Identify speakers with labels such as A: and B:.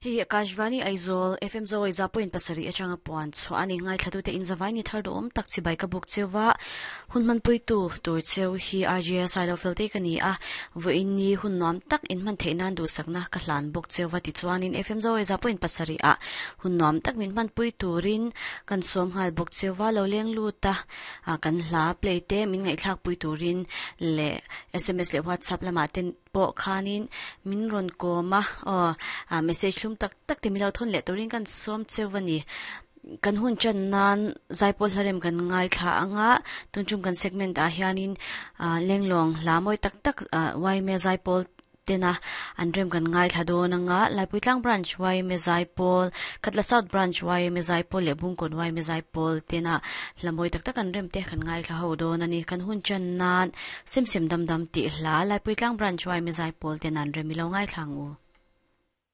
A: Hei hi Akashvani Aizawl FM Zawai za point pasarih atanga puan chhuah a ni. Ngaithlatute in zavai ni thar duhawm tak chibai ka buk cheu va, hun hmanpuitu tur cheu hi RJS Ailo Felte ka ni a, vawiin ni hun nuam tak in hman theih nan duhsakna ka hlan bawk cheu va tichuanin FM Zawai za point pasarih ah hun nuam tak min hmanpui turin kan sawm nghal bawk cheu va, lo leng lut a kan hla play te min ngaihthlakpui turin leh sms leh WhatsApp lamah te pawh khanin min rawn kawm a, aw ah message hlum tak tak te min lo thawn leh turin kan sawm cheu a ni. Kan hun chan nan zaipawl hlarem kan ngaithla ang a, tun chung kan segment ah hianin ah lenglawng hla mawi tak tak ah yma zaipawl tena an rem kan ngaithla dawn ang a, Laipuitlang Branch yma zaipawl, Khatla South Branch yma zaipawl leh Bungkawn yma zaipawl tena hla mawi tak tak an rem te kan ngaithla ho dawn a ni. Kan hun chan nan Sem sem dam dam tih hla Laipuitlang Branch yma zaipawl ten an rem i lo ngaithla ang u.